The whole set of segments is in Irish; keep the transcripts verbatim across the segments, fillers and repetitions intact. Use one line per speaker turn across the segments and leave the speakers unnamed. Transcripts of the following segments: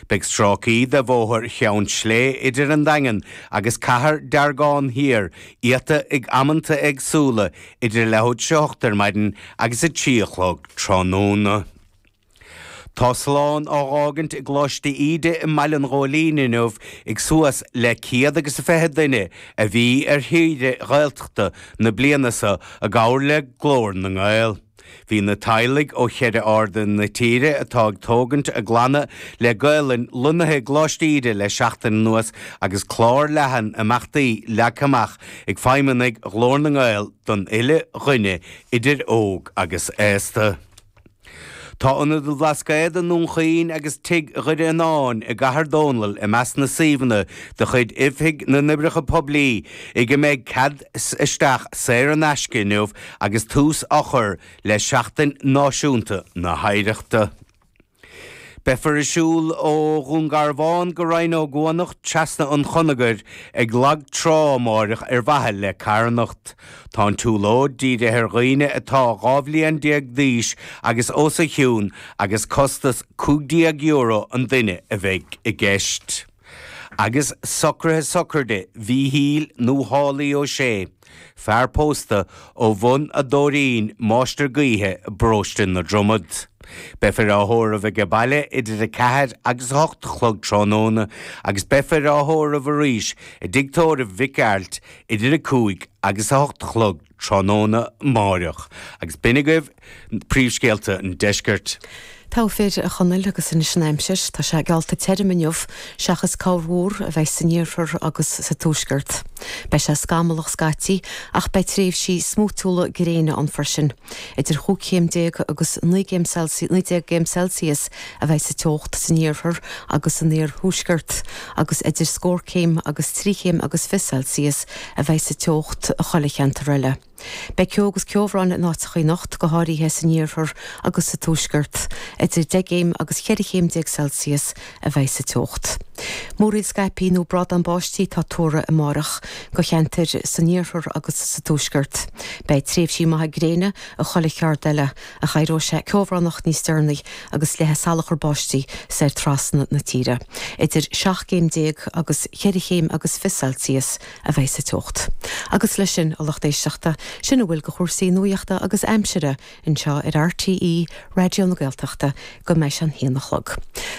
Beidh stráicí de bhóthar Cheann Slé idir an Daingean agus Cathair Deargán Thiar iata ag amanta éagsúla idir leathuair tar éis a hocht ar maidin agus a trí a chlog tráthnóna. Tá slán á fhágaint i gColáiste Íde i mBaile an Ghóilín inniu ag suas le céad agus a fiche duine a bhí ar shaoire Ghaeltachta na bliana seo i gcomhar le Glór na nGael. Bhí na teaghlaigh ó cheithre airde na tíre atá ag tógaint a gclanna le Gaelainn lonnaithe i gColáiste Íde le seachtain anuas agus clár leathan imeachtaí leagtha amach ag feidhmeannaigh Ghlór na nGael don uile dhuine idir óg agus aosta. Tá Ionad an Bhlascaoid i nDún Chaoin agus Tigh Dhoire Fhionáin i gCathair Dónall i measc na suíomhanna de chuid Oifig na nOibreacha Poiblí ag a mbeidh cead isteach saor in aisce inniu agus tús á chur le Seachtain Náisiúnta na hOidhreachta. Beifear ag siúl ó Dhún Garbhán go Rinn Ó gCuanach trasna an Chonagair ag lag trá amárach ar mhaithe le carthanacht. Tá an tsiúlóid dírithe ar dhaoine atá dhá bhliain déag d'aois agus os a chionn agus costas cúig déag euro an duine a bheidh i gceist. Agus socruithe sochraide Mhíchíl nó Shálaí Ó Sé, fear pósta ó Bhun a' Dóirín, máistir gaoithe i bparóiste na Dromad. Beifear á thórramh aige baile idir a ceathair agus a hocht a chlog tráthnóna agus beifear á thórramh arís i dtigh tórraimh Mhic Gearailt idir a cúig agus a hocht a chlog tráthnóna amáireach. Agus b'in agaibh príomhscéalta an deiscirt.
Togha fir, a Chonaill, agus anois an aimsir. Tá sé geallta tirim inniu, seachas corrmhúr a bheidh san iarthar agus sa tuaisceart. Beidh sé scamallach scaití ach beidh tréimhsí smúitiúla gréine ann freisin. Idir chúig chéim déag agus naoi gcéim naoi déag gcéim Celsius a bheidh sa teocht san iarthar agus san iarthuaisceart agus idir scór céim agus trí chéim agus fiche Celsius a bheidh sa teocht i chuile cheantar eile. Beidh ceo agus ceobhrán in áiteacha anocht, go háirithe san iarthar agus sa tuaisceart. Idir deich gcéim agus cheithre chéim déag Celsius a bheidh sa teocht. Múraíl scaipthe nó brádán báistí atá tuartha amárach do cheantair san iarthar agus sa tuaisceart. Beidh tréimhsí maithe gréine i chuile cheard eile, ach éireoidh sé ceobhránach níos deireanaí agus leathfaidh salachar báistí soir trasna na tíre. Idir seacht gcéim déag agus cheithre chéim agus fiche Celsius a bheidh sa teocht. Agus leis sin, a lucht éisteachta, sin a bhfuil de chúrsaí nuachta agus aimsire anseo ar RTÉ Raidió na Gaeltachta go mbeidh sé an haon a chlog.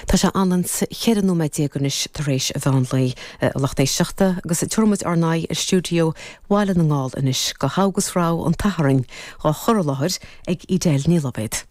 Tá sé anonn ceithre nóiméad déag anois tar éis an mheán lae, a lucht éisteachta, agus tabharfaimid ár n-aghaidh ar stiúideo Bhaile na nGall anois go hAugust Rogha an tSathairn, á chur i láthair ag Edel Ní Loibhéad.